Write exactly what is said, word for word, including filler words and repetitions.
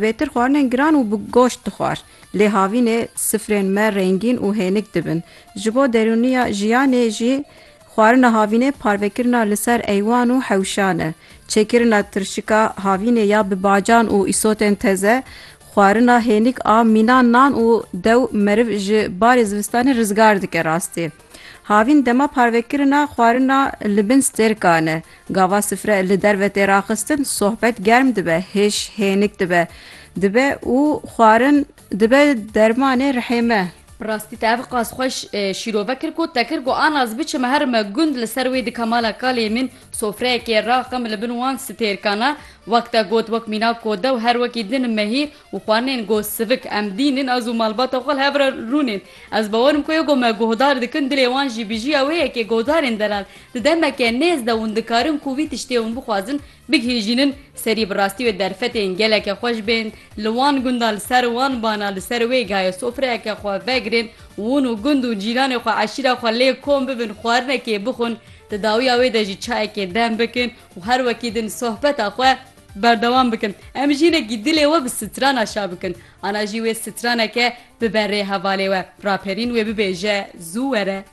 Bêtir xwarinên giran û bi goşt dixwar. Lê havînê sifrên me rengîn û hênik dibin. Ji bo derûniya jiyanê jî xwarina havînê parvekirina li ser eywan û hewşan e. Çêkirina tirşika havînê ya bi bacan û îsotên teze, xwarina hênik a mîna nan û dew meriv ji barê zivistanê rizgar dike rastî. Havîn dema parvekirina xwarina li bin stêrkan e. Gava sifre li derve tê raxistin, sohbet germ dibe, hêş hênik dibe. Dibe û xwarin dibe dermanê rihê me. Bi rastî te ev qas xweş, e, şîrove kir ku te kir ku ana ez biçime herime gund li ser wê dike mala kalê min, sofreyekê raxim li bin wan stêrkana, wek te got, wek mîna kode û her wekî din mehîr û xwarinên go sivik em dînin, ez û malbata xwe li hev re rûnên. Ez bawerim ku yê ku me guhdar dikin, dilê wan jî bijiya wê yekê guhdarên delal. Di demeke nêz de hûn dikarin ku vî tiştê hûn bixwazin, bigihîjînin serî. Bi rastî wê derfetên geleke xweş bên. Li wan gunda, li ser wan bana, li ser wê gayê sofreyeke xwe vegirin û hûn û gund û cîranê xwe, eşîra xwe lê kom bibin, xwarinekê bixwin. Di dawiya wê de jî çayekê dem bikin û her wekî din sohbeta xwe berdewam bikin. Em jî hinekî dilê we bi strana şa bikin. Ana jî wê straneke bibe rê hevalê we. Raperîn wê bibêje, zû were.